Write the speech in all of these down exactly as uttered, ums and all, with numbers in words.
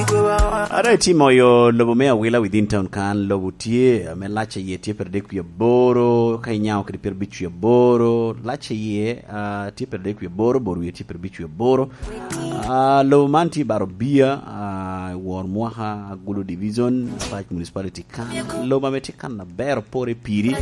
Ara itimo yo lobo me Awila within town kan, lobo tye, ame lac a iye tye pyeradek wie aboro, ka inyaŋo kede pyeradek wie aboro, lac a iye, ah, tye pyeradek wie aboro, bor wie tye pyeradek wie aboro. Ah, lobo man tye i Barobia, ah, i wor mwaka, Agulu Division, Apac Municipality kan. Lobo ame tye kan aber opore piri.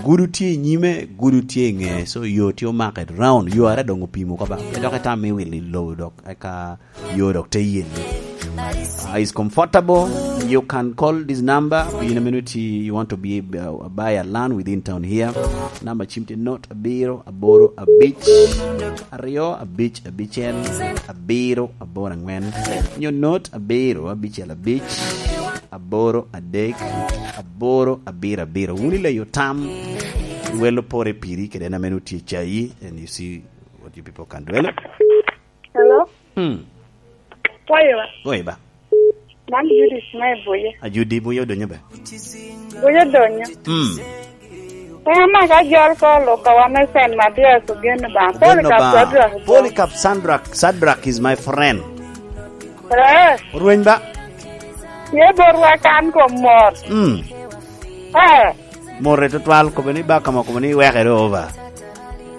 Gudu tye i nyime, gudu tye i ŋeye. So, yo tye omake round. Yo are doŋ opimo ka ba. Pe dok itam me wilo i lobo dok, eka yo dok te yelli. Uh, is comfortable. You can call this number. You know, minute you want to be, uh, buy a land within town here. Number cim tye not abiro aboro abic aryo abic abicel abiro aboro angwen. Nyo not abiro abicel abic aboro adek aboro abiro abiro. Wun ileyo tam, welo pore piri kede en ame nutye cayi, and you see what you people can do. Hello? Hello? Hmm. Kwayo ba? Kwayo ba? Man Judith me Buye. A Judi Buye odonyo ba? Buye odonyo. Hmm. En ame ka jol ko Lukawa me Saint Mathias ogen ba. Ogen Polycarp ba. Sadrak. Polycarp Sadrak. Sadrak is my friend. Eh. Orweny ba? Ye borwa kan kom mor. Hmm. Eh. Morre tutwal, kobo ni baka mo, kobo ni wekere over.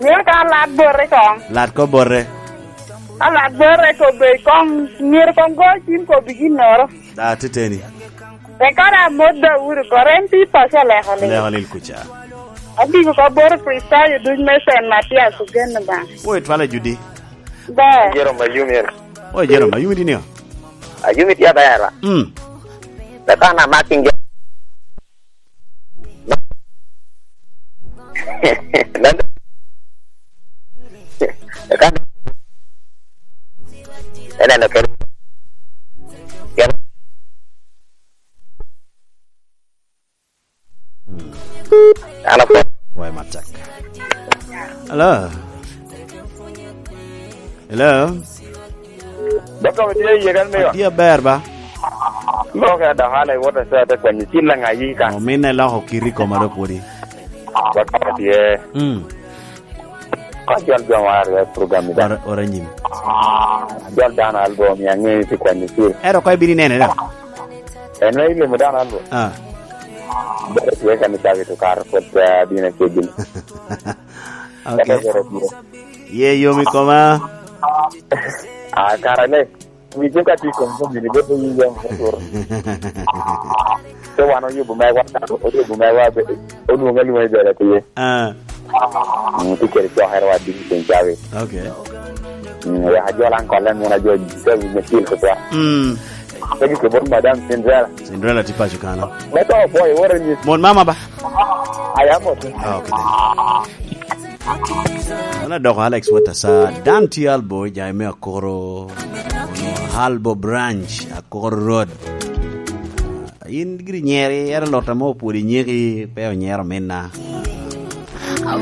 Mio ka lat borre kong. Lat ko borre. Ka lat borre kobe kong, myero kong go cim kobi ginnoro. Da, teteni. Eka da mot Daudi kore en pi paco leko lil. Leko lil kuca. Abigo ka boro Kricitayo duc me Saint Mathias ogen ba. Wo itwala Judi. Ba. Jerome Ayumi en. Wo Jerome Ayumi dinio? Ayumi tye aber ba? Mm. Eka na making. Eneno kede. An apwony. Wai matek. Hello. Hello. Dokta, itye iye kan, miwa? Atye aber ba. Loke adaŋ ala iwot asa te kwanyo cil aŋa yi kan. Ominne loko kiti i koma do pwodi. Dokta, tye. Mm. Ka jol jo maro ya program ni da. Ora, ora nyim. Jol dano albo mi aŋeyo ti kwanyo cil. Ero ko ibini nene da? En me ilimo dano albo. Ah. Bere tye kan i cabi to karo pwod, ah, dina kegin. Okay. Kata bere tye. Ye yom i koma. Ah, kara le. Wi jo ka tye i kom jami ni, bedo yi yom, bedo. So wan oyubo megwa, oyubo megwa, be-, olwonge alwonga i bere tye. Ah. Mm, tye kede cokere wa diki ceng cawi. Okay. Mm, wek ajol ankol en mona jo, jo wi me cil kutwa. Mm. Pegi ke bot Madam Cinderella. Cinderella tye paco kano. Me to boy, what are you? Mon mama ba? I am okay. Ah, okay then. An adoko Alex Watasa, dan tye Albo, jai me Akoro, Albo Branch, Akoro Road. In giri nyeri, ero lota mo pwod inyeki, pe onyero minna.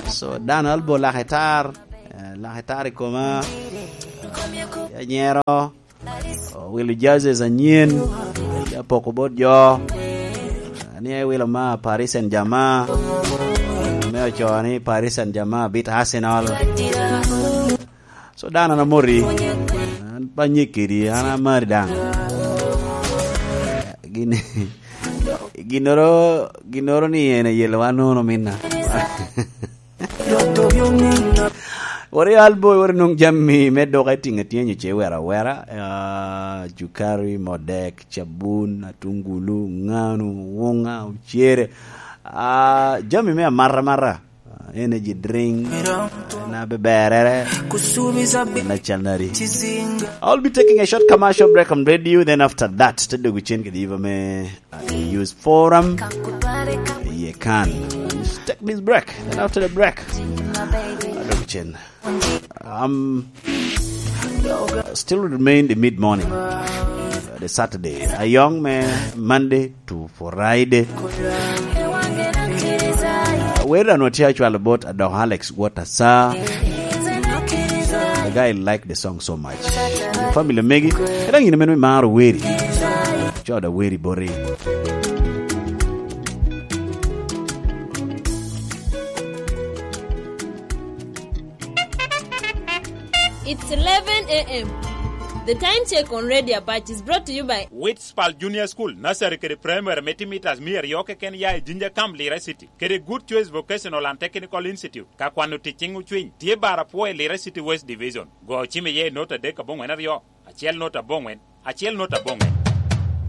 So, dan Albo lake tar, eh, lake tar i koma, anyero. Owilo jerseys anyen, apoko bot jo. Ni ewilo ma Paris Saint-Germain. Me ocoo ni Paris Saint-Germain beat Arsenal. So, dano an amoti. An pe anyek kedi, an amari daŋ. Gin-, ginnoro, ginnoro ni en ayelowa nono minna. Wari Albo, wari nwoŋ jami me duka itiŋo atiŋa nyo ce wera awera, ah, cukari, modek, cabun, atungulu, ŋanu, wuŋa, ocere, ah, jami me amata amata, ah, energy drink, na be berere, na calnari. I'll be taking a short commercial break on radio, then after that, te dogo cen kede yiba me Use forum. Ye kan. Just take this break. Then after the break, I don't change. Um, still remain the mid morning, uh, the Saturday. A young man, Monday to Friday. Where I know Tia Chwal about Adok Alex, what a sa. The guy like the song so much. Family megi, kata ngine meno maro weri. Choda weri bori. It's eleven a m. The Time Check on Radio Apac is brought to you by Witspal Junior School, Nursery kede Primary me timo mitas mia aryo keken ya i Jinja Camp, Lira City, kede Good Choice Vocational and Technical Institute, ka kwano tic ciŋ ocwiny, tye bar apwo i Lira City West Division. Go ocim iye i nota adek aboŋwen aryo, acel nota aboŋwen, acel nota aboŋwen.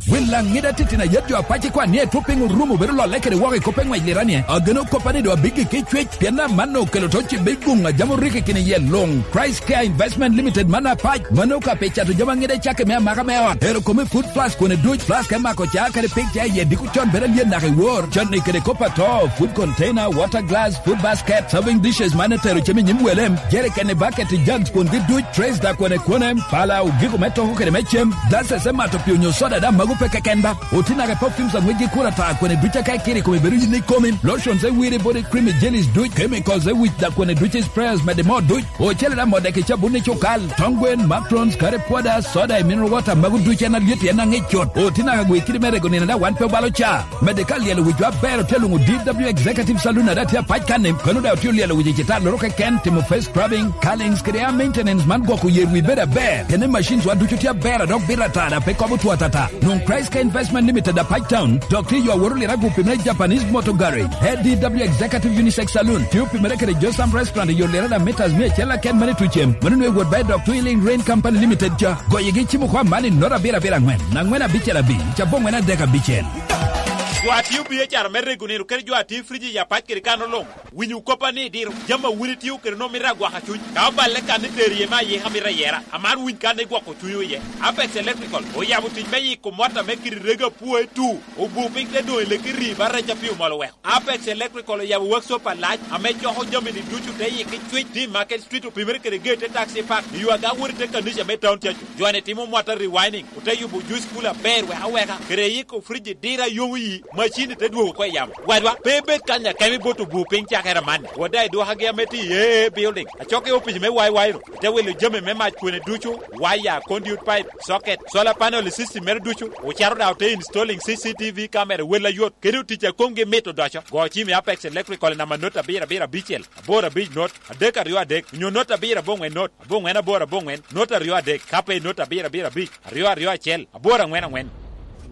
Wil Laŋida titino ayet jo apac kwan ni etwop piny orumo bedo lolle kede woko i kop eŋwec liranie. Ageno koppa ni doŋ abiggi ki cwec, pien amanno okelo to cibe guŋ a jam orikki kini yel luŋ. Christ Care Investment Limited man apac, mano ka pe cato jami aŋida cakke me amaka me ot. Ero kome food plus kone duc, plus ka imako ca kede pig ca iye diko con bedo alyet naka i wor. Canni kede kop ato, food container, water glass, food basket, serving dishes man etero cem i nyim welem, jerikeni, baketi, jugs, kwongi duc, trays da kwene kwene, pala, ogiko me toko kede me cem, glasses me mato pii onyo soda da mago pe keken ba. Otinake perfumes aŋwec gi kura ta kwene duc aka ikiri kome bedo yin ikomi, lotions e wiri body cream jellies duc, chemicals e wic da kwene duc sprayers mede mo duc, ocele da modeki cabun i cukal, tongwen, macrons, kare pwoda, soda, mineral water mago duc en alyet en aŋic cut. Otinake gwe kidi me rego nino da wan pe obalo ca. Mede ka lyelo wicwa aber otye luŋo D W Executive Saloon ada tye apac kanni, kono da otye lyelo wic i cita loro keken, timo face scrubbing, curlings kede hair maintenance man gwoko yer wi bedo aber. Kene machines wa ducu tye aber a dok bito ata da pe kobo two atata. Nwoŋ Christ Care Investment Limited apac town, dok tye yo aworo lira gupi me Japanese Motor Garage. A D W Executive Unisex Saloon, tye opimere kede Josam Restaurant i yo lira da meters mia acel aken mane tucem. Mano nwe wot by Doctor Healing Rain Company Limited ca. Goyigi cimo kwa man i nota abiro abiro aŋwen, aŋwen abicel abic, aboŋwen adek abicel. Jo a tio biacara me rego nino kede jo a tio friji ya pac kede kano luŋ, winyo koppa ni diro jami a wun itio kede nwoŋo mito agwaka cuny. Ka oballe kan ni tero iye me ayika mito ayera, aman winy kan ni gwoko cunywu iye. Apex Electrical oyabo tic me yiko mota me kidi rego apwoe tu, obu piny te doŋ i leki rii ba reca pi omol oweko. Apex Electrical oyabo workshop alac ame coko jami-ni ducu te yikki cwic, tye i Market Street, opimere kede gate te taxi park, i yo aga wot i te kanica me town cacu. Jo-ni timo mota rewinding, ote yubo juice cooler aber wek aweka, kede yiko fridge diro a yomo yi, macin-ni te dwogo oko i yamo. Wadwa, pe ibed kany akemo i bot obu piny cakere amanni. Wot daŋ idwokagi ame tye i A A Building, acok i opic me Y Y ro, ite wilo jami me mac kwene ducu, waya, conduit pipe, socket, solar panel i system mere ducu, ocaro daŋ ote installing C C T V camera i wel ayot, kede otic a komgi mit odoco. Go cim i Apex Electrical i namba not abiro abiro abicel, aboro abic not, adek aryo adek, onyo not abiro aboŋwen not, aboŋwen aboro aboŋwen, not aryo adek, ka pe i not abiro abiro abic, aryo aryo acel, aboro aŋwen aŋwen.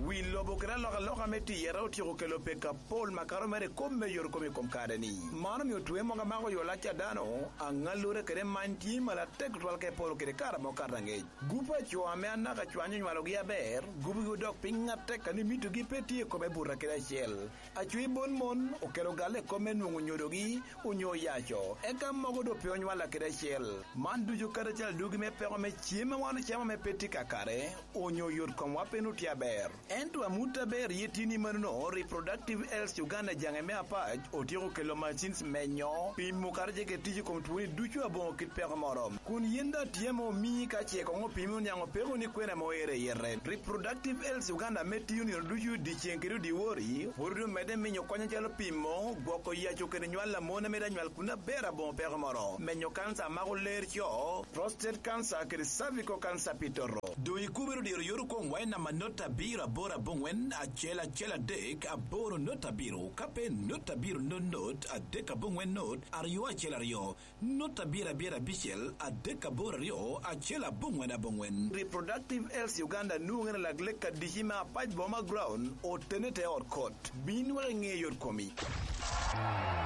Wi lobo kede alokaloka me tiyere otyeko kelo pek apol makato mere i kop me yot kom i kom kare-ni. Man omio twe mogo amako yo lac a dano, aŋallure kede many tye malo atek tutwal ka iporo kede kare ame okato aŋec. Gup a co ame anaka cwany onywalogi aber, gupgi odok piny atek a ni mitogi pe tye i kome buta kede acel. Aco i bon mon okelo galle i kop me nwoŋo nyodogi onyo yaco, eka mogo doŋ pe onywalla kede acel. Man ducu kadi acel adugi me peko me cem a wan ocamo ame pe tye kakare, onyo yot komwa pe nwoŋo tye aber. Ento amut aber ye tini manono, Reproductive Health Uganda jaŋe me apac otyeko kelo machines menyo, pimo kadi ce kede tic i kom twoni ducu aboŋo kit peko moro. Kun yin daŋ tye ame omii ka ce koŋ opimi oniaŋ opeko ni kwene ame oero i yete. Reproductive Health Uganda ame tiyo nino ducu dyeceŋ kede odiwori, pwod omedde minyo kony acalo pimo, gwoko yaco kede nywal a mon a mito anywal kun aber aboŋo peko moro, menyo kanca a mako ler co, prostate cancer kede cervical cancer pi toto. Doŋ ikubere odiro yot okwoŋwa i namba not abiro aboro aboŋwen acel acel adek aboro not abiro, ka pe not abiro not not adek aboŋwen not aryo acel aryo, not abiro abiro abicel adek aboro aryo acel aboŋwen aboŋwen. Reproductive Health Uganda nwoŋere lak lek adici me apac boma ground otene te ot kot. Bin wek iŋe yot komi.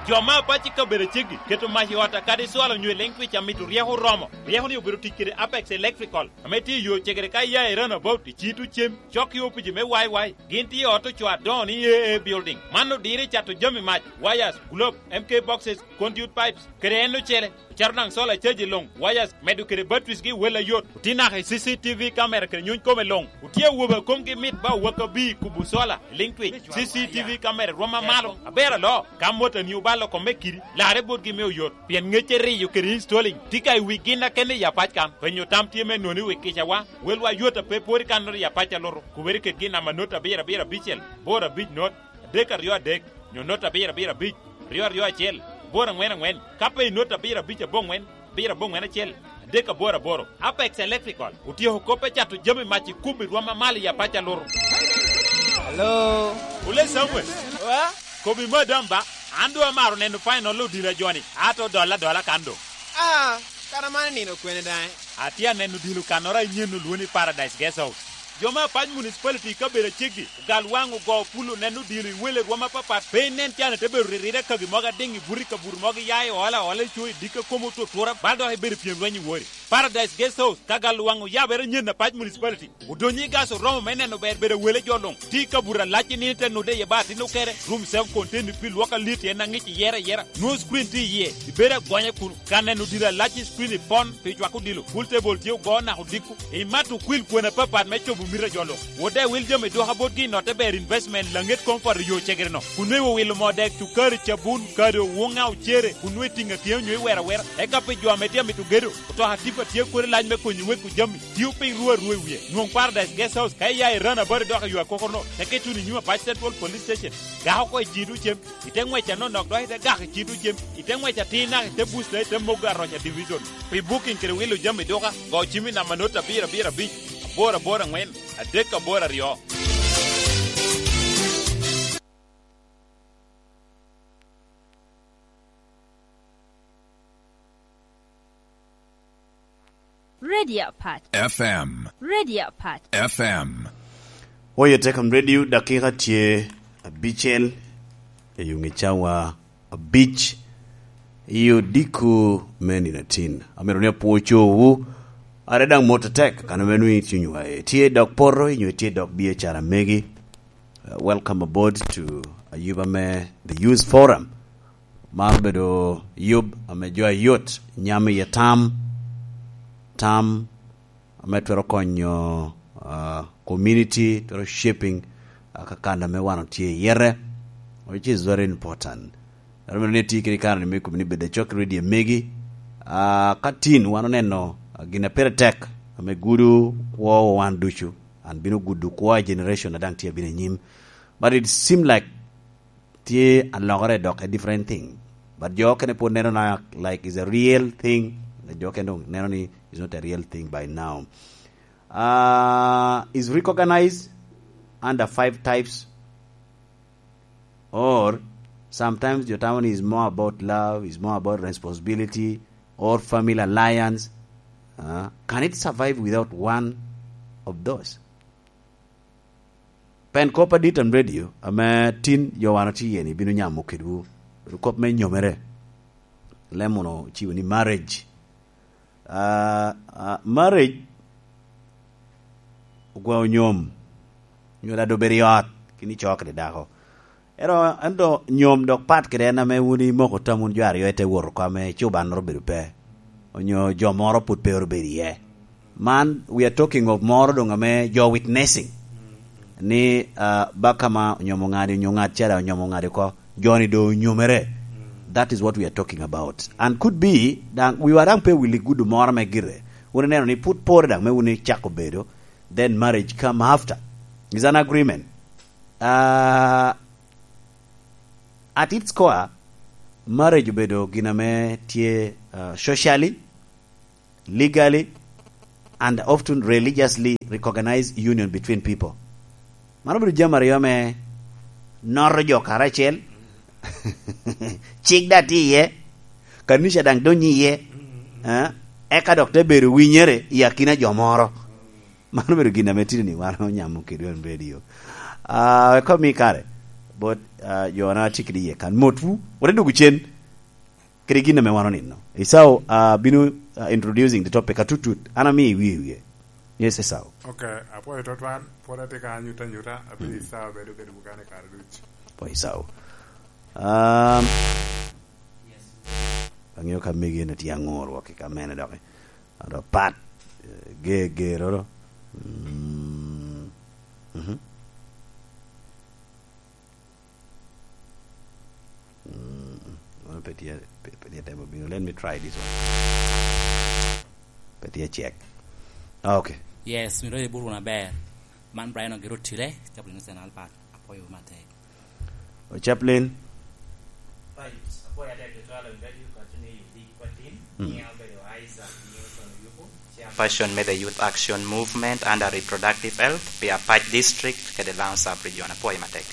Jo me apac i kabedo aceggi keto mac i ot akadi cwalo nyo i leŋ twic amito ryeko oromo. Ryeko-ni obedo tic kede Apex Electrical, ame tye i yo cegere ka iya i Roundabout i Cito Cem, cok i opici me Y Y. Gin tye i ot ocoo adoŋo ni A A Building. Man odiro i cato jami mac, wires, globe, M K boxes, conduit pipes, kede en ocele. Ocato daŋ solar caji luŋ, wires, medo kede batteries gi wel ayot. Otye naka i C C T V camera kede nyuny kome luŋ. Otye awobe a komgi mit ba owak abir kubo solar, liŋ twic, C C T V camera rwom amalo, aber aloo. Ka motani obalo kome kidi, larre botgi me oyot, pien ŋecce riyo kede installing tye ka i wi gin akene i apac kan. Penyo tam tye me noni wi kicawa, welwa yot a pe pwod i kannoro i apac alutu. Kubere kedgi i namba not abiro abiro abicel, boro abic not, adek aryo adek, nyo not abiro abiro abic, aryo aryo acel, aboro aŋwen aŋwen, ka pe i not abiro abic aboŋwen, abiro aboŋwen acel, adek aboro aboro. Apex Electrical otyeko kop me cato jami mac i kum i rwom amalo i apac alutu. Hello. Ole Samuel. Wa? Kobi madam ba, an doŋ amaro neno final odilo a joni, ato dolla adola kan doŋ. Ah, kara man nino kwene daŋ? Atye aneno dilo kannoro a inyen olwoŋo ni Paradise Guest House. Jo me Apac Municipality i kabedo aceggi ogal waŋ ogo pul oneno dilo i wele rwom apapat. Pe inen can ite bedo riride kagi mogo adiŋ i buto i kabuto mogo iya i ola ola i co i dikka kom otutura bal dok ibedo pyem lweny i wori. Paradise Guest House ka gal waŋ oyabere nyen Apac Municipality. Odonyo i gas oromo me neno ber bedo awele jo luŋ. Tye i kabuto alac i nino ite nude iye ba atin okere. Room self contained pi lwok alit en aŋic iyere ayera. Nwoŋo screen tye iye. Ibedo agonya kunu. Ka neno dilo alac i screen ipon pi cwako dilo. Pool table tye ogo naka odiko. Imato okwil kwena apapat me cobo mito a jo luŋ. Wode awil jami dwoka botgi i notte ber investment laŋet comfort i yo cegere-no. Kun nweyo owilo moo dek, cukari, cabun, kado, wuŋa, ocere, kun nwoŋo itiŋo atiŋa onyo iwero awera. Eka pi jo ame tye amito gedo, otoka tipa tye kodi lac me konyi weko jami. Tio piny ru arua i wie. Nwoŋ Paradise Guest House ka iya i Rana Bari dok i yo akokoro-no, teke ituno i nyim Apac Central Police Station. Gak oko i ciŋ tucem, ite ŋwec anonok dok ite gak i ciŋ tucem, ite ŋwec atir naka ite buc dok ite mogo aroca division. Pi booking kede wilo jami duka, go cim i namba not abiro abiro abic, aboro aboro aŋwen, adek aboro aryo. Radio Apac. F M. Radio Apac. F M. Oye Tekam Radio, dakika tye abicel i yuŋ i cawa abic i odiko me nino atin. Amito ni apwo cowu, are daŋ mot atek, kan ame nwoŋo i cunywa, itye dok poto, inyo itye dok biacara megi. Uh, welcome aboard to Ayuba me The Youth Forum. Man obedo yub ame jo ayot nyamo iye tam, tam ame twero konyo, uh, community, twero shaping, uh, ka kan ame wan otye iyete, which is very important. Ero meno ni iti kede kare-ni me kobo ni bed acok i redio megi. Uh, ka tin wan oneno, uh, gin a pire tek ame gudo kwowa wan ducu, an bino gudo kwo a generation a daŋ tye abino anyim. But it seem like tye alokere dok a different thing. But jo okene pwod neno na like is a real thing. Jo okene dong neno ni is not a real thing by now. Uh, is recognized under five types, or sometimes jo tamo ni is more about love, is more about responsibility, or family alliance. Uh, can it survive without one of those? Pen kop adit on radio ame tin jo wan otye iye-ni bino nyamo kedwu. Bedo kop me nyomere. Lem mono ociwo ni marriage. Ah, ah, marriage ogwao nyom. Nyo dado bedo i ot, kini coo kede dako. Ento, ento nyom dok pat kede en ame wun imoko tam wun jo aryo ite wot oko ame cubannoro obedo pe. Onyo jo moro pwod pe obedo iye. Man, we are talking of moro doŋ ame jo witnessing. Ni, ah, baka ma onyomo ŋadi, onyo ŋat cara onyomo ŋadi oko, jo-ni doŋ onyomere. That is what we are talking about. And could be, daŋ, wiwa daŋ pe owil i gudo moro me gire. Wun ineno ni pwod pore daŋ me wun icako bedo, then marriage come after. Is an agreement. Ah, at its core, marriage obedo gin ame tye, ah, socially, legally, and often religiously recognized union between people. Mano obedo jami aryo ame noto jo karacel, cik daŋ tye iye, kanica daŋ donyo iye, eh, eka dok te bedo winyere i akina jo moro. Mano obedo gin ame tye ni wan onyamo kede on radio. Ah, wek omi kare bot, ah, jo na tye kede iye kan. Motwu, wot idwogo cen kede gin ame wan onino. Esau, ah, bino, ah, introducing the topic atutut. An ami iwie wie. Yes, Esau. Ok, apwoyo tutwal. Pwod atye ka anyuta anyuta. Abino Esau bedo kede bukane kare duc. Apwoyo Esau. Um, ang'eyo ka megi en tye aŋor wok i ka mene dok. Ado pat, eh, ge, ge, roro. Mm, mhm. Mm, mano pe tye, pe, pe tye temo bino. Let me try this one. Pe tye check. Ah, okay. Yes, mi roye buru na ber. Man Brian Ogiro Tire, chaplain Saint Albert. Apwoyo matek. O chaplain. Right. Apwoyo atek tutwal on radio kati ni yubi kwa team. Mm. Ni abedo Isaac Newton Oyuku, chairperson me the Youth Action Movement under Reproductive Health, pi Apac District, kede Lango Sub Region. Apwoyo matek.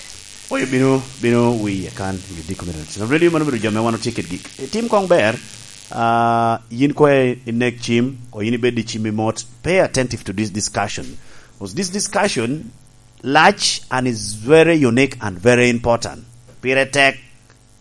Oyo bino, bino wiye kan, you document. So, radio mano bedo jo me wan otye kit gik. E, tim kong ber, Uh, yin kwe inek cim, or yin ibed i cim i mot, pay attentive to this discussion. Because this discussion large and is very unique and very important. Pire tek,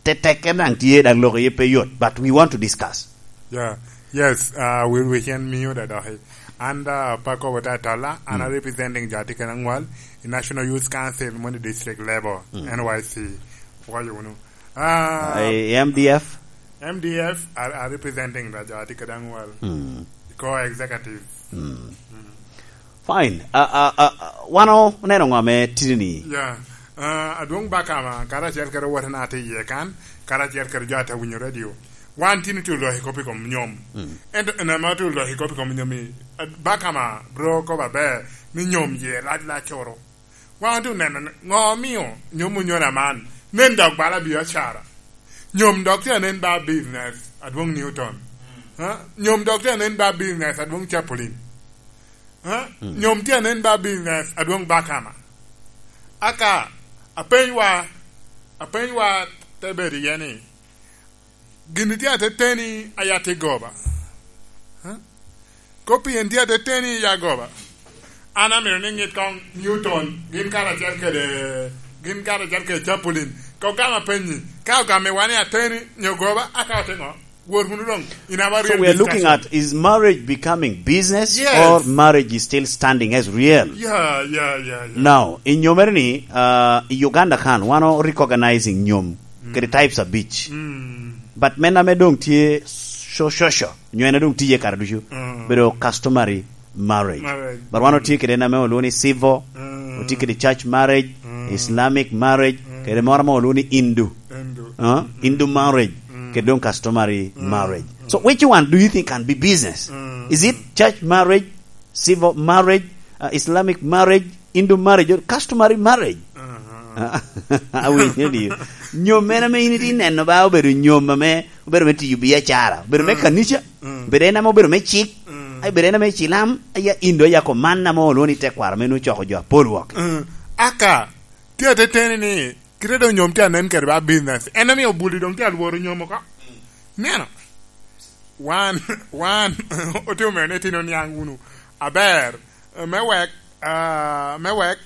te tek en daŋ tye, daŋ lok iye pe yot, but we want to discuss. Yeah. Yes, uh, we, we can mute that, okay. And, uh, Paco Watatola, and I'm representing Jati Kanangwal, the National Youth Council, Moni District Level, N Y C. Pwoyo wunu. Uh, Eh, M D F? M D F are, are representing the Jati Kanangwal. Co-executive. Fine. Uh, uh, uh, uh, wan oneno ŋo ame tini ni? Yeah. Uh, Adwoŋ Bakama, karacel kede owotena atye iye kan, karacel kede jo ate winyo radio. Wan tin otye olok i kop i kom nyom. Ento en ame otye olok i kop i kom nyom i, uh, Bakama, bro, kobo aber ni nyom ye lac lac coro. Wan otye oneno ni ŋo omio nyom onyona man, nen dok bala biacara. Nyom dok tye anen ba business, Adwoŋ Newton. Ha? Nyom dok tye anen ba business, Adwoŋ Chapolin. Ha? Nyom tye anen ba business, Adwoŋ Bakama. Aka, apenywa, apenywa te bedo iye ni, gin tye ateteni a ya tye goba. Ha? Kop pien tye ateteni ya goba. An amito ni ŋit koŋ Newton, gin karacel kede, gin karacel kede Chapolin. Ka ogamo apenyi, ka ogamiwa ni ateni nyo goba, aka ote ŋo? Wot wunu doŋ, in aba So real we are looking discussion. At, is marriage becoming business Yes. Or marriage is still standing as real? Yeah, yeah, yeah, yeah. Now, in your ni, uh, i Uganda kan, wan o recognizing nyom, kede types of beach. But men ame doŋ tye so-, social, nyo en doŋ tiye kare ducu, bedo customary marriage. Marriage. But wan otye kede en ame olwongo ni civil, otye kede church marriage, Islamic marriage, kede moro ame olwongo ni Hindu. Hindu. Huh? Hindu marriage, kede doŋ customary marriage. So which one do you think can be business? Is it church marriage, civil marriage, uh, Islamic marriage, Hindu marriage, or customary marriage? Awinyo ni nyom mene ame in itye neno ba obedo nyom ame obedo me tiyo biacara, obedo me kanica, obedo en ame obedo me cik, ai, obedo en ame cilam, aya Hindu, aya ko man ame olwongo ni tekwaro me nwoŋo coko jo apol wok. Aka, tye ateteni ni, kite doŋ nyom tye anen kede ba business. En omio buli doŋ tye alworo nyom oko. Neno, wan, wan, otye omene itino niaŋ wunu. Aber, me wek, ah, me wek,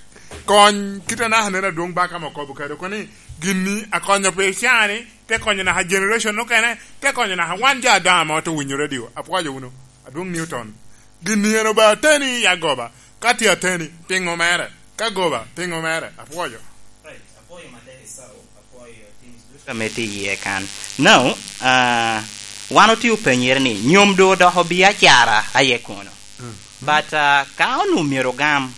kony, kite anaka nen Adwoŋ Bakama okobo kede oko ni, gin ni akonyo pi cani, te konyo naka generation okene, te konyo naka wan jo adaŋ ame ote winyo radio. Apwoyo wunu. Adwoŋ Newton. Gin ni en oba ateni i agoba. Ka tye ateni, piŋo mere? Ka goba, piŋo mere? Apwoyo. Right, apwoyo matek i Sawo, apwoyo teams ducu ame tye iye kan. Now, ah, wan otye openyere ni, nyom doŋ odoko biacara aye kono. But, ah, ka onwoŋo myero ogam,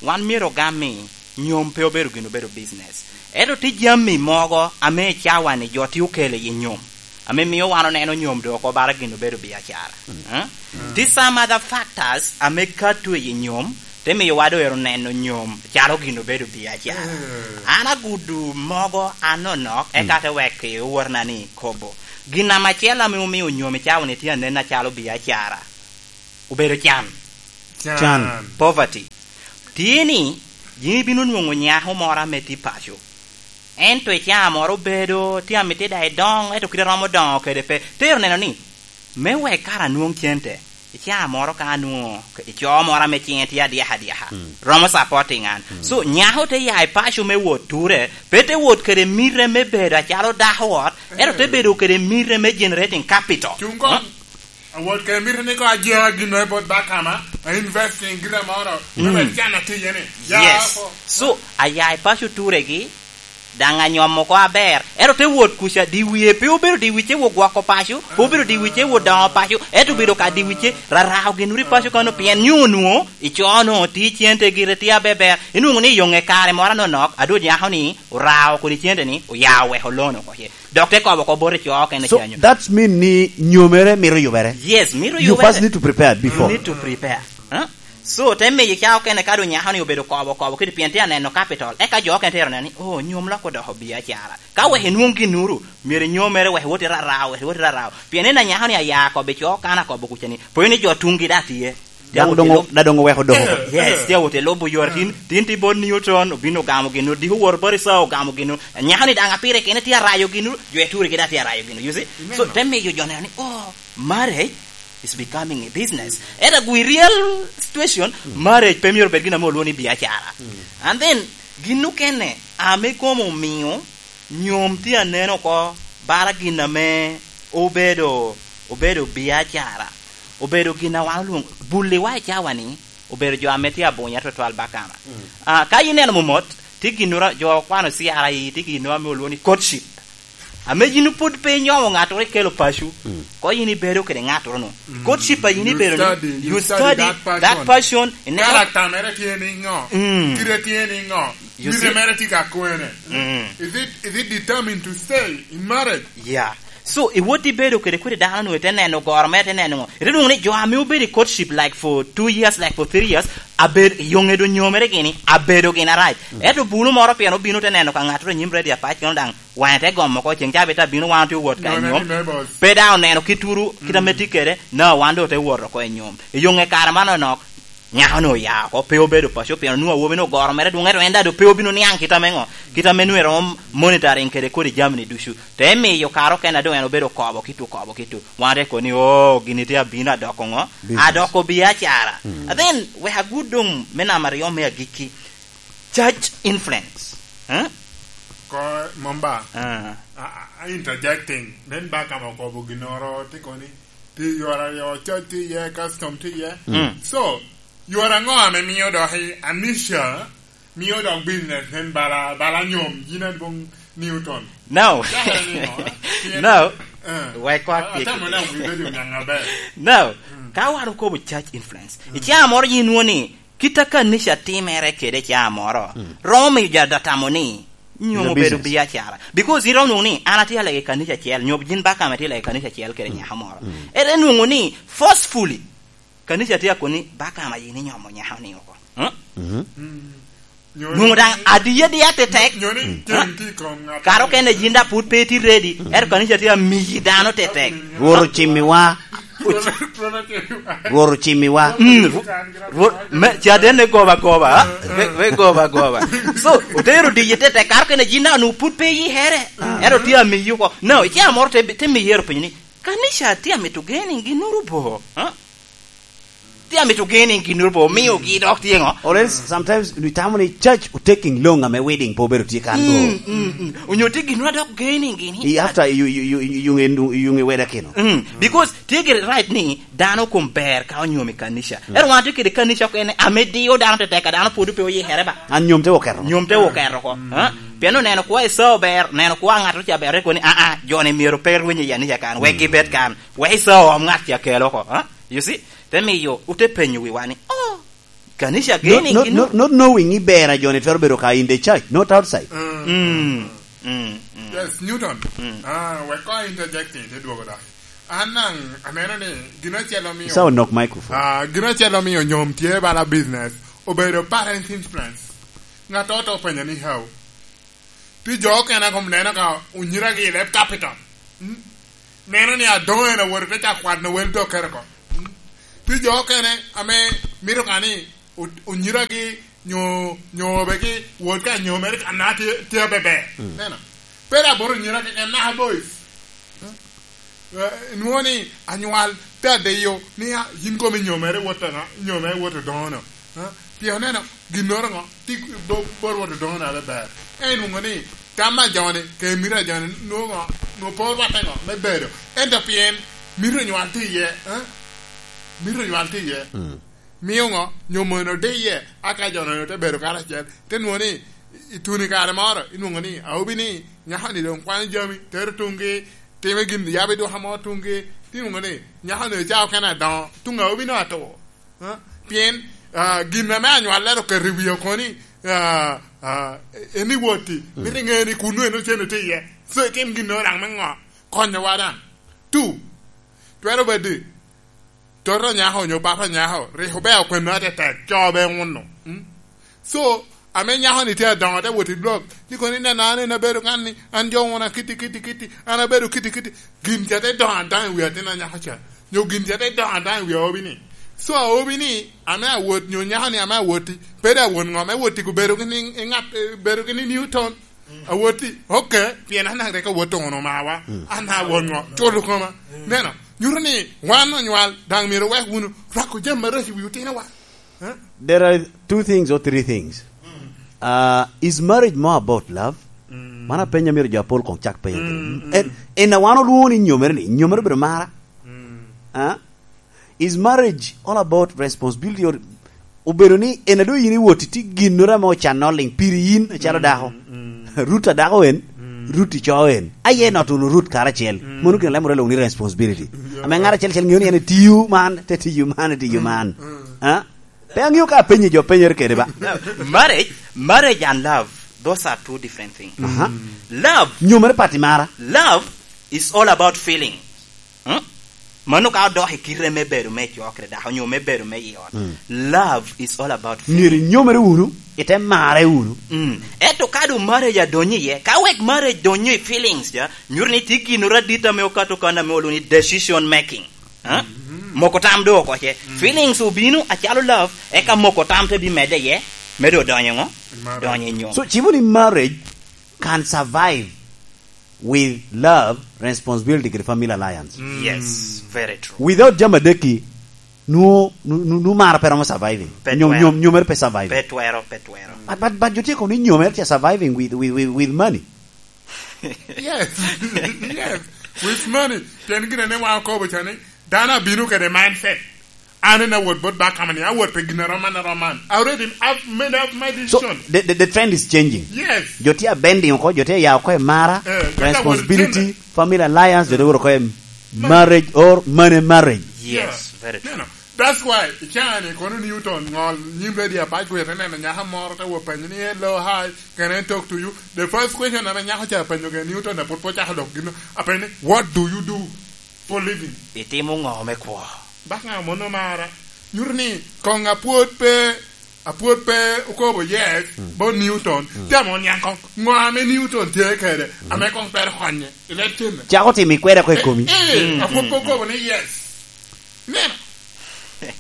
wan myero ogam ni nyom pe obedo gin obedo business. Ento tye jami mogo ame i cawa-ni jo tye okelo i nyom, ame mio wan oneno nyom doŋ oko bara gin obedo biacara. Eh? Tye some other factors ame kato i nyom, te miyo wa doŋ ero neno nyom calo gin obedo biacara. An agudo mogo anonok, eka te wek i owotena ni kobo. Gin namba acel ame omio nyom i cawa-ni tye anen acalo biacara, obedo can. Can. Can. Poverty. Tye ni, yin ibino nwoŋo nyako moro ame tye paco. Ento i caa moro obedo, tye amiti daŋ edoŋ, ento kite romo doŋo kede pe. Tero neno ni, me wek kara anwoŋ cente, i caa moro ka anwoŋo, i coo moro ame ciŋe tye adyaka adyaka, romo supporting an. So, nyako te ya i paco me wot ture, pe te wot kede mite me bedo acalo dako ot, ento te bedo kede mite me generating capital. Cuŋ koŋ. Awot kede mito ni koŋ ajia gin me bot Bakama, a investing gire moro, me wek can atiye ni. Ya Yes. oko. So, aya i paco turegi, daŋ anyomo oko aber. Ento te wot kuca, di wie pe obedo di wice wot gwoko paco, pe obedo di wice wot doŋo paco, ento obedo ka di wice rarao gin uri paco kano, pien nyo onwoŋo, i coo onwoŋo ti cente gire tye abeber. Inwoŋo ni i yoŋe kare moro anonok, adwo nyako ni orao kodi cente ni, oyao weko loan oko ce. Dok te kobo oko bote co okene. So, canyo. That's mean ni nyomere mito yubere. Yes, mito yubere. You first need to prepare before. You need to prepare. Huh? So, te miyo ca okene ka doŋ nyako ni obedo kobo, kobo, kidi pien tye aneno capital. Eka jo okene tero neno ni, "Oh, nyom lok odoko biacara." Ka wek inwoŋ ginuru, myero inyomere wek iwot irarao, wek iwot irarao. Pien en anyako ni aya kobo i co kan akobo kuca ni. Poyo ni jo tuŋgi da tye. Daŋ doŋ, da doŋ oweko doŋo. Yes, tye awot i lubo yore. Tin, tin tye bot Newton, obino ogamo gino, diko woro bot Esau, ogamo gino. Nyako ni daŋ apire kene tye arayo gino, jo eturi gi da tye arayo gino, you see? So, te miyo jo neno ni, "Oh, Marriage is becoming a business. Ento agu i real situation, marriage pe myero obed gin ame olwongo ni biacara. And then, gin okene ame komo omio nyom tye anen oko, bara gin ame obedo, obedo biacara, obedo gin a wan olwongo, bulliwa i cawa-ni, obedo jo ame tye abunya twatwal bakana. Ah, ka ineno momot, tye ginnoro, jo okwano C R I, tye ginnoro ame olwongo ni courtship. Ame yin pwod pe inyomo ŋattoro ikelo paco, ko yin ibedo kede ŋattoro-nu. Courtship a yin ibedo-ni, study, you you study study that person. That person, ineno. Character mere tye ni ŋo? Mm. Kite tye ni ŋo? You see? Mite mere tye ka kwene? Mm. Is it, is it determined to stay in marriage? Yeah. So, iwot ibedo kede kwede dano-nu, ite neno goro mere, ite neno ŋo? Ite nwoŋo ni jo ame obedo i courtship, like, for two years, like, for three years, abed-, yoŋe doŋ nyomere gini, abedo gin arac. Mm. Ento bulu moro pien obino te neno ka ŋattoro i nyim radio apac, kono daŋ waŋe te gomo oko, ceŋ ca bita bino wan otye wot ka nyom. Pe daŋ oneno kituru, kit ame tye kede, na wan doŋ ote wot oko i nyom. I yoŋe kare man onok, nyako-ni oya oko, pe obedo paco, pien onwoŋo awobi-ni ogoro mere dwoŋ, ento en daŋ doŋ pe obino niaŋ kit ame ŋo, kit ame nwoŋo eromo monitoring kede kodi jami-ni ducu. Te miyo kare okene a doŋ en obedo kobo kitu, kobo kitu. Wan te kobo ni, "Oh, gini tye abino adoko ŋo?" Business. Adoko biacara. Mm. And then, wek agud doŋ me namba aryo me agikki. Church influence. Eh? Ko, Mumba. Ah. A, a, a interjecting. Nen ba ka ma okobo ginnoro, te kobo ni, tye yore aryo, church tye iye, custom tye iye. Mm. So, yore aŋo ame mio dok i Anisha, mio dok business nen bala, bala nyom, yin adwoŋ Newton? No. Cakere ni ŋo, eh? Pien, no. Eh. Wek kwa a-, atamo ni awi bedo nyaŋ aber. No. Mm. Ka wan okobo church influence, mm, i caa moro yin nwoŋo ni, kit a kanica timere kede caa moro, mm, romo miyo jo da tamo ni, nyom obedo business. Biacara. Because iromo nwoŋo ni, an atye alego i kanica acel, nyo yin bakame tye alego i kanica acel kede, mm, nyako moro. Mm. Ere nwoŋo ni, forcefully, kanica tye akoni, bakama yin inyomo nyako-ni oko. Huh? Mhm. Mm. Nwoŋo daŋ adiya diya tetek. Nyo ni, mm, cen tye i kom ŋat. Kara okene yin da pwod pe itye ready. Mm. Ento kanica tye amiyi dano tetek. Rwot ocimmiwa. Rwot ocimmiwa. Mm, Rwo-, Rwot, me, ca den ne goba goba, ha? Me, me goba goba. So, otero diyi tetek, kara okene yin da onwoŋo pwod pe iyihere. Mm. Ento tye amiyi oko. No, icaa moro te, te miyi ero penyo ni, kanica tye amito geni ginnoro bo, ha? Tye amito geni ginnoro bo, omiogi dok tye ŋo? Or else, sometimes, nitamo ni church o taking long ame wedding pe obedo tye kan go. Mm, mm, mm. Onyo tye ginnoro dok geni gini. I after, you, you, you, you, you, you, you weda kino. Mm, because tye gire right ni dano kom ber ka onyomo i kanica. Mm. Ero wan tye kede kanica okene ame dio dano tetek, a dano pwod pe oyikere ba. An nyom te oketo. Nyom te oketo oko. Mm. Ha? Pien oneno kwa Esau ber, oneno kwa ŋat oca ber, eko ni, "Ah, ah, jo-ni myero pe rweny i kanica kan, wek, mm, gibed kan, wek Esau om ŋat ca kel oko." Ha? You see? Te miyo, ote penyo wiwa ni, "Oh, kanica geni gino?" Not, not, not knowing ni ber a jo-ni twero bedo ka in the church, not outside. Mm, mm, mm. Yes, Newton. Mm. Ah, wek ko interjecting, te dwogo dok. An daŋ aneno ni gin acel omio, isa onok microphone. Ah, gin acel omio nyom tye bala business, obedo parents influence. Ŋat oto openyo ni, "How?" Tye jo okene a kom neno ka onyiragi i leb capital. Mm? Neno ni adoŋo en awoto te ca kwano wel dokkere oko. Mm? Tye jo okene ame mito ka ni o-, onyiragi nyo, nyo obegi wot ka nyo mere ka na tye, tye abeber. Mm. Neno. Pe dok bot onyira keken, naka boys. Mm? Eh, nwoŋo ni anywal te adiyo ni, "Ah, yin komi nyomere wot aŋa? Nyomere wot odoŋo-no." Eh? Pien oneno ginnoro ŋo, ti bo-, bot wot odoŋo na bebe. En nwoŋo ni tam a joni, ke mito a joni, nwoŋo ŋo, nwoŋo pe orwatte ŋo, me bedo. Ento pien mito nywal tye iye, eh? Mito nywal tye iye. Mm. Mio ŋo? Nyo mono de iye, aka jo-nu te bedo karacel. Te nwoŋo ni, i tuni kare moro, inwoŋo ni, awobi ni, nyako-ni doŋ kwano jami, tero tuŋgi, time gin, yabo i duka mo tuŋgi, ti nwoŋo ni, nyako-ni ocawa okene adoŋo, tuŋ awobi-nu atur. Ha? Pien, ah, gin ame anywallere oketo i wie oko ni, ah, ah, en i woti, mm, mito iŋe ni kunnu en ocen otye iye. So, itim ginnoro daŋ me ŋo? Konyowa daŋ. Two, twero bedo ni, toto nyako onyo papa nyako, rik obe okwena tetek, co be uno. Mm? So, ame nyako-ni tye adoŋo, te wot i blok, ti kono ineno an en abedo kan ni, an jo wuna kiti, kiti, kiti, an abedo kiti, kiti. Gin ca te doŋo adaŋ i wi atin anyako ca, nyo gin ca te doŋo adaŋ i wi awobi-ni. So, awobi-ni, ame awot, nyo nyako-ni ame awoti, pe dok awot ŋo, me wot i bedo gini i ŋat, eh, bedo gini Newton. Awoti, okay, pien an daŋ rik awot wunu mawa. Mm. An daŋ awot ŋo, culo koma. Mm. Neno, Nyuto ni wan onywal, daŋ myero wek wunu rwako jami marac i wi otinowa. Eh? There are two things or three things. Uh, is marriage more about love? Mm. Mano apenyo myero jo apol koŋ cak penyo. Mm, mm. En, en a wan olwoŋo ni nyomere ni, nyomere obedo mara. Mm. Ah? Is marriage all about responsibility or obedo ni en a doŋ yin iwot itye ginnoro ame ocanne oliŋ piri yin acalo dako? Mm. Rut a dako en, mm, Rut ico en. Aye not unu Rut karacel. Mm. Mano gin alemoro lwoŋo ni responsibility. Yeah. Ame ŋat acel acel ŋeo ni en etiyo man, te tiyo man, etiyo man. Mm. Ah? Pe aŋeo ka apenyi jo penyere kede ba. Marriage, marriage and love, those are two different things. Aha. Love. Nyomere pati mara. Love is all about feeling. Hmm? Mano ka odok i kite me bedo me co kede dako, onyo me bedo me i ot. Mm. Love is all about feeling. Myero inyomere wunu, ite mare wunu. Mm. Ento ka doŋ marriage adonyo iye, ka wek marriage donyo i feelings ja, nyuto ni tye ginnoro adit ame okato kan ame olwoŋo ni decision making. Ha? Mm-hmm. Moko tam doŋ oko ce. Mm. Feelings obino acalo love, eka moko tam te bimedde iye, me doŋ donyo ŋo? Marriage. Donyo i nyom. So, cibo ni marriage can survive with love, responsibility, kede family alliance. Mm. Yes, very true. Without jami adek-ki, nwo-, nwo-, nwo-, nwo mara pe romo surviving. Pe nyom-, twero. Nyom-, nyomere pe surviving. Pe twero, pe twero. But, but, but jo tye kono ni nyomere tye surviving with, with, with, with money. Yes. Yes. With money. Pien gin ane wan okobo ca ni, dano abino kede mindset. An en awot bot ba kama ni, awot pe gin aroman, aroman. I already have made up my decision. So, the, the, the trend is changing. Yes. Jo tye abending oko, jo tye ya oko i mara, eh, responsibility, family alliance, jo tye wot oko i marriage or money marriage. Yes, yeah, very true. You know, that's why, i caa ni, kono Newton, ŋol, nyim radio apac, wete neno nyaka moro, te wo penyo ni, "Hello, hi, can I talk to you?" The first question ame nyako ca penyo gin Newton, apud pe ocako dok gino, apenyo ni, "What do you do for living?" Itimo ŋo me kwo? Bak ŋa mono mara? Nyuto ni koŋ apwod pe, apwod pe okobo yes, mm, bot Newton. Mm. Tamo niaŋ koŋ. Ŋo ame Newton tye kede, mm, ame koŋ twero konye i leb cenne? Cako timo ikweda ko i komi. Eh, eh, mm, apwod pe okobo ni yes. Neno.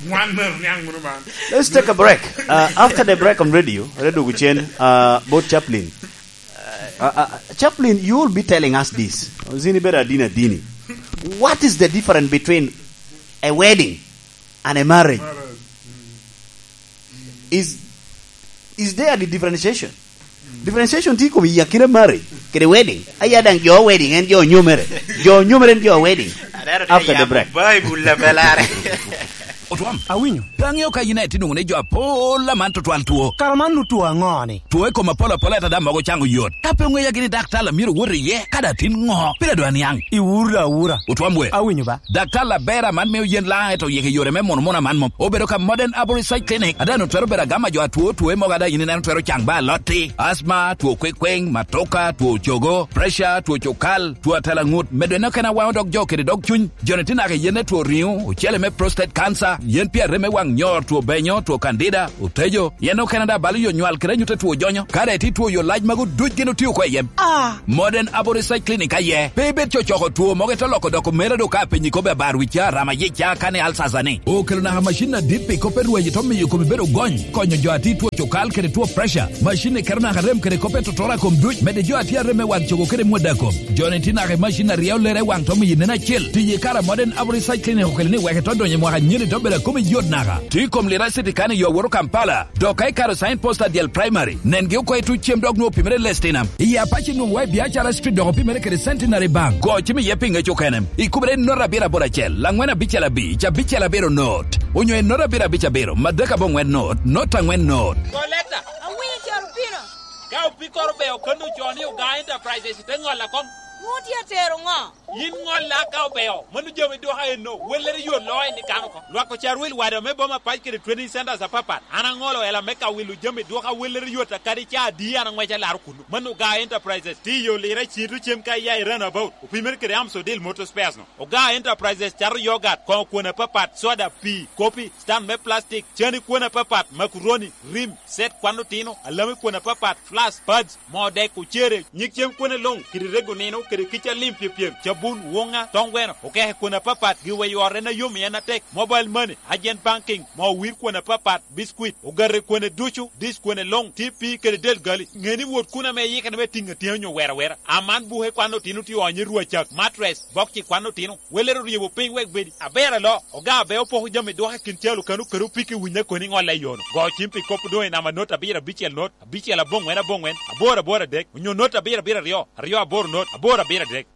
Wan mero niaŋ wunu man. Let's take a break. Uh, after the break on radio, radio Guchen, uh, bot Chaplain. Uh, uh, Chaplain, you will be telling us this. Zini beda adini adini. What is the difference between a wedding and a marriage? Marriage. Mm. Is, is there a differentiation? Differentiation tye i kom i akina marriage kede wedding. Aya daŋ jo wedding en jo onyomere. Jo onyomere en jo wedding. Aneno tye after the yamo break. Baibul labelare. Otwam, awinyo. Pe aŋeo ka yin aye tye nwoŋo ni jo apol aman tutwal two. Kara man nu two aŋo ni? Two i kom apol apol, ento daŋ mogo caŋo yot. Ka pe oŋeya gini daktar a myero owot iye, kadi atin ŋo? Pire doŋ aniaŋ. Iwuro awura. Otwam we. Awinyo ba. Daktar aber aman mio yen laŋ, ento yik i yore me mono mono aman mom. Obedo ka Modern Herbal Research Clinic, a daŋ otwero bedo agam a jo atwo, two mogo a daŋ yin ineno twero caŋ ba alotti, asma, two kwekweng, matoka, two cogo, pressure, two cukal, two atalaŋut, medo en okene awaŋo dog jo kede dog cuny. Joni tye naka i yen me two riŋo, ocele me prostate cancer, yen pi arem me waŋ nyor, two benyo, two candida, otejo, yen okene daŋ balo yo nywal kede anyut a two jonyo. Kare tye two yo lac magu duc gin otio oko i yem. Ah! Modern Herbal Research Clinic aye. Pe ibed cocoko two mogo ite loko dok omera do ka apenyi kobbe abar wi ca, rama yic ca, kane alsasa ni. Okelo naka macin adit pi kop me rweny ito miyo komi bedo gony, konyo jo a tye two cukal kede two pressure. Macin-ni keto naka rem kede kop me totora kom duc, medde jo a tye arem me waŋ cogo kede mwada kom. Joni tye naka i macin a ryeo lere i waŋ to miyo nen acel. Tiyo i kare a Modern Herbal Research Clinic okelo ni wek ito donyo i mwaka nyeni to bedo a komi yot naka. Tye i kom Lira City kan i yo awoto Kampala. Dok ka ikaro sign post adyel primary, nengi oko i tuc cem dok nwoŋo opimere i Lestinam. I Apac inwoŋo wa i Biacara Street dok opimere kede Centenary Bank. Go cim iye pi ŋec okene. Ikubere i note abiro aboro acel, laŋwen abicel abic, abicel abiro note. Onyo i note abiro abic abiro, madek aboŋwen note, note aŋwen note. Koleta. Awinyo caro pino. Ka opikkoro be okanno co ni Ogaa Enterprises, ite ŋolla koŋ. Nwoŋo tye atero ŋo? Yin ŋolla ka obeo, mano jami dwoka enno, wellere yot loo en i kan oko. Lwak ocarwil wada me boma pac kede training centers apapat. An aŋolo ela me ka wilo jami dwoka wellere yot a kadi ca adi an aŋwec alaro kuno. Mano Ogaa Enterprises, tye i yo Lira Cito cem ka iya i Runabout. Opimere kede Amsodil Motor Spares no. Ogaa Enterprises cato yogat, koŋo kwon apapat, soda, pii, kopi, stand me plastic, cani kwon apapat, makuroni, rim, set kwan otino, alami kwon apapat, flask, pads, moo dek, ocere, nyig cem kwone luŋ, kidi rego nino, Kica lim pyepyem, cabun, woŋa, toŋ gweno, okeke kwon apapat, giweyo ot en a yom i en atek, mobile money, agent banking, moo wir kwon apapat, biscuit, ogate kwone ducu, dish kwone luŋ, T P kede del gali. Ŋe ni wot kun ame iyikere me tiŋ atyeni onyo wera wera. Aman buke kwan otino tye onyo i rwacak, mattress, bokci kwan otino. Welere oryebo piny wek bedi aber alo, oga abe opoko jami dwoko i kin calo kano kede opiki winya koni ŋolle i yono. Go cim pi kop doŋ i namba not abiro abicel not, abicel aboŋwen aboŋwen, aboro aboro adek, onyo not abiro abiro aryo, aryo aboro not, aboro abiro adek.